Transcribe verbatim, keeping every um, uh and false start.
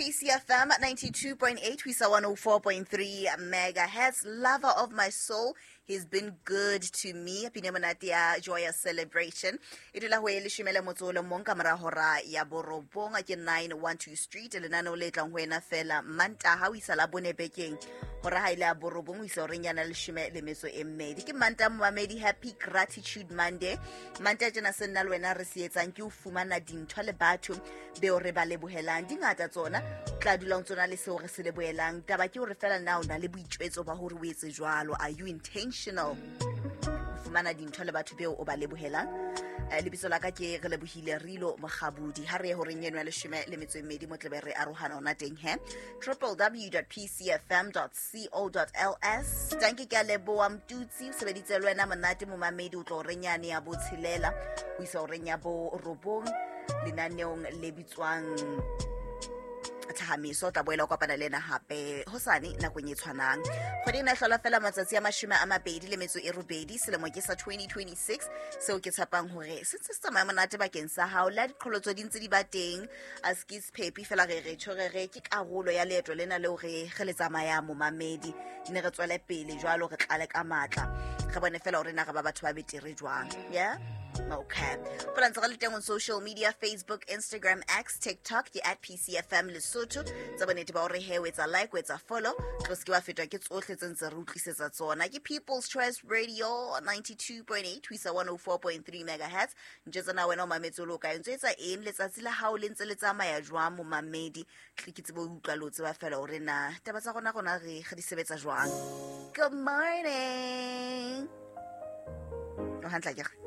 P C F M ninety-two point eight ho isa one oh four point three megahertz. Lover of my soul, he's been good to me. Pine monate ya Joyous Celebration e dula ho e leshome le motso o le mong ka mora hora ya borobong. Ke nine one two Street, lenaneo le tlang ho wena fela Mantaha ho isa la bone bekeng, hora ha ile ya borobong ho isa horeng yana leshome le metso e mmedi. Ke Mantaha, momamedi. Happy Gratitude Monday. Mantaha tjena se nna le wena re se etsang ke ho fumana dintho le batho beo re ba lebohelang. Di ngata tsona, tla dulang tsona le seo re se lebohelang. Taba ke hore fela na o na le boitjwetso ba hore o etse jwalo? Are you intentional ho fumana dintho le batho beo o ba lebohelang? Eh, lebitso la ka ke Re Lebohile Rilo Mogabudi. Ha re ye horeng eno ya leshome le metso e mmedi, mo tlebe re arohana ona teng he. W W W P C F M co L S. Tanke, ke a leboha. Mtutsi o sebeditse le wena monate, momamedi. O tlo horeng yane ya botshelela ho isa horeng ya borobong lenaneong le bitswang Thahamiso. O tla boela o kopana le ena hape hosane nakong e tshwanang. Kgwedi ena e hlola fela matsatsi a mashome a mabedi le metso e robedi. Selemo ke sa twenty twenty-six, seo ke tshepang hore se ntse se tsamaya monate bakeng sa hao. Le ha diqholotso di ntse di ba teng, a se ke sephepi fela, re re tjho, re re ke karolo ya leeto lena leo re re le tsamayang, momamedi. Ne re tswele pele jwalo, re tlale ka matla, re bone fela hore na re ba batho ba betere jwang. Yeah. Okay. Fela ntse re le teng on social media: Facebook, Instagram, X, TikTok, ke at P C F M Lesotho. Tsa bonnete ba hore he o etsa like, o etsa follow, tlo se ke wa fetwa ke tsohle tse ntse re utlwisetsa tsona. Ke People's Choice Radio ninety-two point eight ho isa one oh four point three megahertz. Ntjwetsa na wena o mametse o le o kae, ntso etsa eng, letsatsi la hao le ntse le tsamaya jwang, momamedi? Tle ke tsebe ho utlwa le ho tseba fela hore na taba tsa rona rona re re di sebetsa jwang. Good morning. O hantle akere?